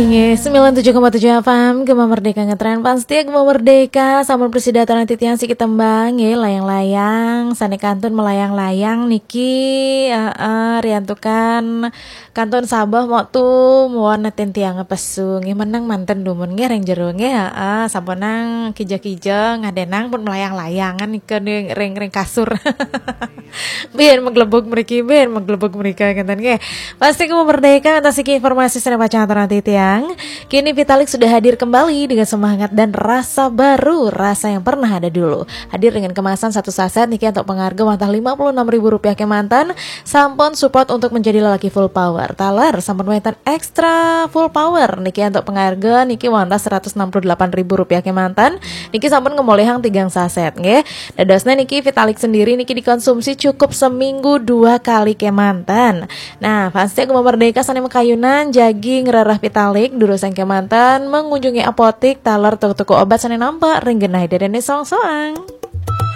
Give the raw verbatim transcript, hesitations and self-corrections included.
Nggih, sembilan tujuh koma tujuh F M, Gema Merdeka ngetren. Pan setia Gema Merdeka, sampun prasida aturang titiang siki tembang, nggih, layang-layang, sane kantun melayang-layang niki, heeh, riantukan kantun sabeh mok tu muwon neten tiang pesu, nggih, meneng manten dumun, nggih, ring jero, nggih, heeh, sampunang kija-kija, ngadenang pun melayang-layangan nika ning ring, ring kasur. Biar menggelebug mriki, biar menggelebug mrika, ngeten nggih. Pasti Gema Merdeka, atas iki informasi sane pacang aturang titiang. Kini Vitalik sudah hadir kembali dengan semangat dan rasa baru, rasa yang pernah ada dulu. Hadir dengan kemasan satu saset niki untuk pengarga wantah lima puluh enam ribu rupiah kemanten, sampun support untuk menjadi lelaki full power. Taler sampun wenten extra full power niki untuk pengarga niki wantah seratus enam puluh delapan ribu rupiah kemanten, niki sampun ngemolihang tigang saset, nggih. Dadosne niki Vitalik sendiri niki dikonsumsi cukup seminggu dua kali kemanten. Nah, fans Gema Merdeka sane makayunan jagi ngrereh Vitalik, durusang kemanten mengunjungi apotik taler toko-toko obat sane nampak ring genah dadane soang-soang.